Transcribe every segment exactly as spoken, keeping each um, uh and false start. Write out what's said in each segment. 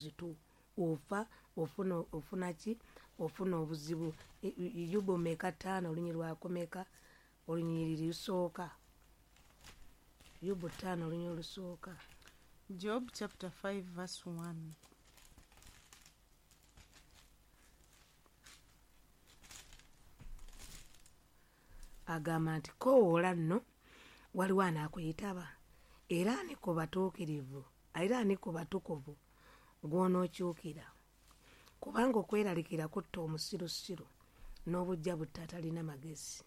Zitu ofa ofuna ofuna ki ofuna obuzibu. Yobu meka ttaano olunyiriri lwakomeka olunyiriri lusooka. Yobu ttaano olunyiriri lusooka. Job chapter five verse one. Agamba nti koowoola nno waliwo anaakuyitaba, era ani ku batuukirivu era ani ku batukuvu gw'onookyukira, kubanga okweralikira kutta omusirusiru n'obuggya butta atalina magezi.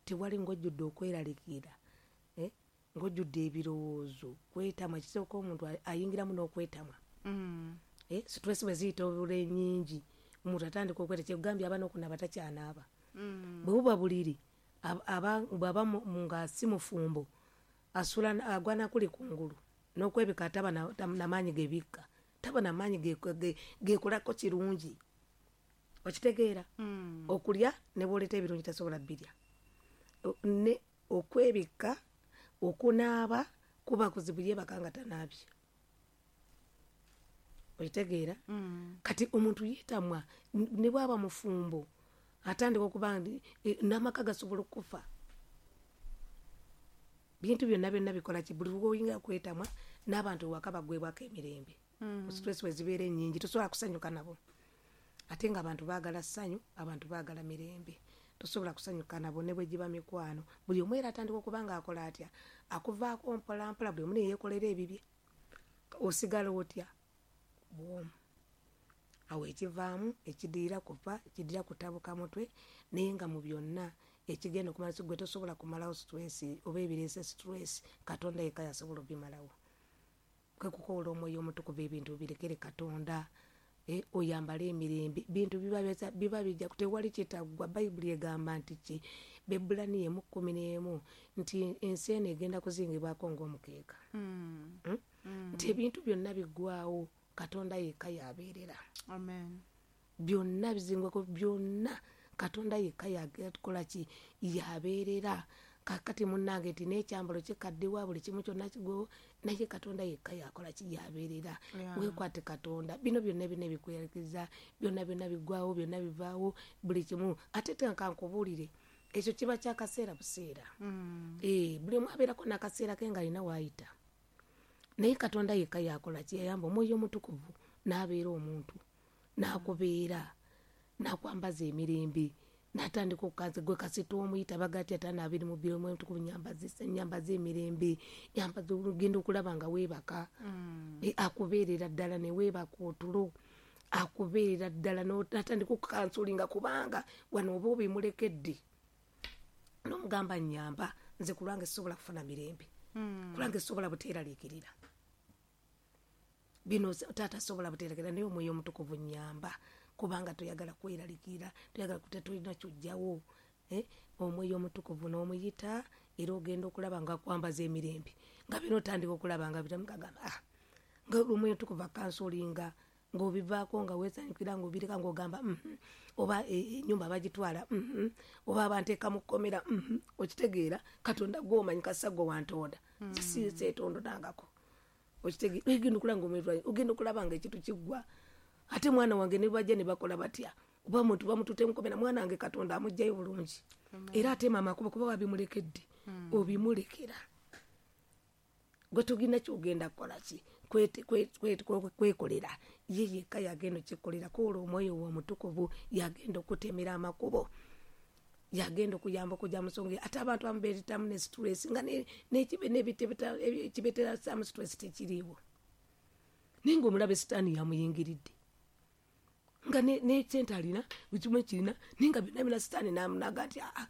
Tewali ng'ojjudde okweralikira, eh, ng'ojjudde ebirowoozo, kwetamwa. Kisooka omuntu ayingiramu n'okwetamwa. Mm. Eh, stress bwe ziyita obule nnyingi, omuntu atandika okweta. Kyekugambye aba n'okunaaba takyanaaba. Mm. Bwe buba buliri, aba bw'aba nga si mufumbo, asula agwa nakuli kungulu n'okwebika taba namaanyi gebikka, taba namaanyi gekolako kirungi. Okitegeera? Mm. Okulya ne bw'oleeta ebirungi tasobola bbirya. Ne okwebikka, okunaaba kuba kuzibu, yeebaka nga tanaabye. Okitegeera? Mm. Kati omuntu yeetamwa ne bw'aba mufumbo atandika okuba n'amaka gasobola okufa. Bintu byonna byonna bikola ki? Buli lw'oyingira kwetamwa n'abantu ewaka baggwebwako emirembe. Mm. Stress bwe zibeera ennyingi tosobola kusanyuka nabo. Ate ng'abantu baagala ssanyu, abantu baagala mirembe. Tosobola kusanyuka nabo ne bwe giba mikwano. Buli omu era atandika okuba ng'akola atya? Akuvaako mpola mpola, buli omu ne yeekolera ebibye. Osigala otya? Bw'omu. Awo ekivaamu ekiddirira kufa, ekiddirira kutabuka mutwe, naye nga mu byonna ekigenda okumala gwe tosobola kumalawo stress oba ebireese stress, Katonda yekka y'asobola obimalawo. Kwe kukoola omwoyo omutukuvu ebintu birekere Katonda, eh, oyambale emirembe. Bintu biba biba bijja tewali kitaggwa. Bayibuli egamba nti ki? Bebbulaniya emu kkumi n'emu nti ensi eno egenda kuzingibwako ng'omukeeka. Mm. Mm? Mm. Nti ebintu byonna biggwaawo, Katonda yekka y'abeerera. Amen. Byonna bizingwako byonna Katonda yekka yakola ki? Yabeerera. Kakati munnange nti n'ekyambalo kikaddiwa, buli kimu kyonna kigwewo, naye Katonda yekka yakola ki? Yabeerera. Yeah. Weekwate Katonda. Bino byonna byonna ebikweraliikiriza, byonna byonna biggwaawo, byonna bivaawo, buli kimu. Ate ka nkubuulire, ekyo kiba kya kaseera buseera. Mm. Eh, buli omu abeerako n'akaseera ke ng'alina w'ayita. Naye Katonda yekka yakola ki? Yayamba omwoyo omutukuvu n'abeera omuntu, n'akubeera, n'akwambaza emirembe, n'atandika okukanza gwe kasita omuyita bagatya ataano abiri mu bbiri omwoyo omutukuvu nyambaza nyambaza emirembe, nyambaza ogenda okulaba nga weebaka. Mm. E, akubeerera ddala ne weebaka otulo, akubeerera ddala n'atandika okukansulinga kubanga wano oba obimulekedde. N'omugamba nnyamba, nze ku lwange sisobola kufuna mirembe. Mm. Ku lwange sisobola buteeraliikirira. Bino taata sobola buteeraliikirira, naye omwoyo omutukuvu nnyamba kubanga toyagala kweraliikirira, toyagala tetulina ky'oggyawo. Eh, omwoyo omutukuvu n'omuyita era ogenda okulaba nga akwambaza emirembe. Nga bino otandika okulaba nga bitamugamba, ah, nga omwoyo omutukuvu akansulinga, ng'obivaako nga weesanyukira ng'obireka ng'ogamba, mm-hmm, oba ennyumba bagitwala, mm-hmm, oba abanteeka mu kkomera, mm-hmm. Okitegeera? Katonda gw'omanyi kassa gwe wantonda. Mm. Si seetondonangako. Okitegeera? Ogenda okulaba ng'omwoyo ogenda okulaba nga ekintu kiggwa. Ate mwana wange ne bajja ne bakola batya? Oba omuntu bamututte mu kkomera, mwana wange Katonda amuggyayo bulungi. Era ate maama akuba kuba wabimulekedde, Mm. obimulekera. Gwe togina ky'ogenda kukola ki? Kwekolera. Ye yekka yagenda okkikolera. Koola omwoyo we omutukuvu yagenda okutemera amakubo, yagenda okuyamba okujja mu nsonga. Ate abantu abamu beeretamu ne stress nga n'ekibeeteramu stress tekiriiwo, naye ng'omulabe sitaani yamuyingiridde nga n'ekyente alina buli kimu ekirina, naye nga byonna byonna sitaani n'amunaga nti aa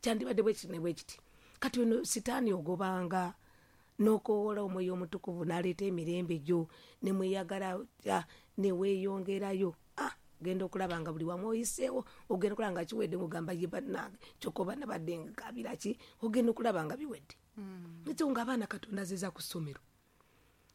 kyandibadde bwe kiti ne bwe kiti. Kati ono sitaani ogobanga n'okowoola omwoyo omutukuvu n'aleeta emirembe gyo ne mweyagala ne weeyongerayo. Ah, genda okulaba nga buli wamu oyiseewo, ogenda okulaba nga kiwedde ng'ogamba ye bannange kyokka oba nabadde nkabira ki, ogenda okulaba nga biwedde. Mm. Ekyo ng'abaana Katonda azizza ku ssomero,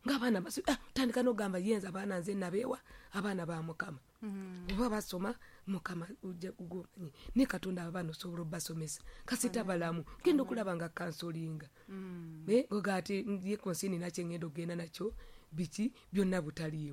ng'abaana baso, ah, tandika n'ogamba ye nze abaana nze nabeewa, abaana ba Mukama. Mm. Oba basoma Mukama ojja kugomanyi, ne Katonda abaana osobola obbasomesa kasita balamu. Genda okulaba nga kansolinga Mm. naye ngoga ati ye ku nsi nina kye ngenda okugenda nakyo, Biki byonna butaliimu.